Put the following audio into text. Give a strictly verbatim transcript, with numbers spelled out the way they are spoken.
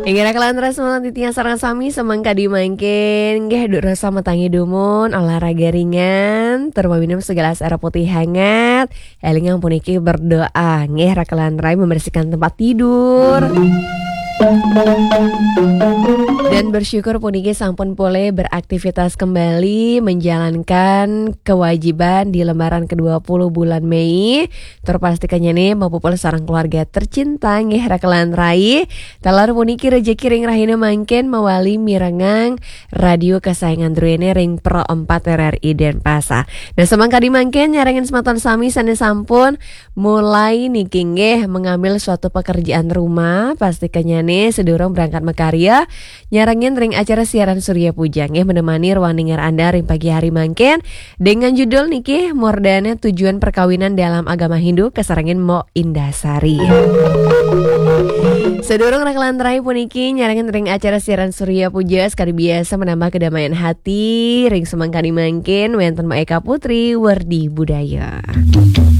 Inggih, raka lan rai semanten titiang sareng sami, semeng kadi mangkin nggih, dudosa matangi dumun, olahraga ringan, tur maminum segelas air putih hangat. Elingang puniki berdoa nggih, raka lan rai, membersihkan tempat tidur. Dan bersyukur puniki sampun polih beraktivitas kembali, menjalankan kewajiban di lembaran kedua puluh bulan Mei. Tur pastikannyané mapupul sareng keluarga tercinta nggih, raka lan rai. Taler puniki rejeki ring rahina mangkin mawali mirengang radio kesayangan druéné ring Pro empat R R I Denpasar. Nah, semeng kadi mangkin nyarengin semeton sami sané sampun mulai niki nggih mengambil suatu pekerjaan rumah, pastikannyané sedurung berangkat makarya, nyarengin ring acara siaran Surya Puja nggih, menemani ruang dengar Anda ring pagi hari mangkin dengan judul niki murdané tujuan perkawinan dalam agama Hindu, kasarengin Mbok Indah Sari. Sedurung raka lan rai puniki nyarengin ring acara siaran Surya Puja, sekadi biasa menambah kedamaian hati ring semeng kadi mangkin wénten Mbok Eka Putri, Werdi Budaya.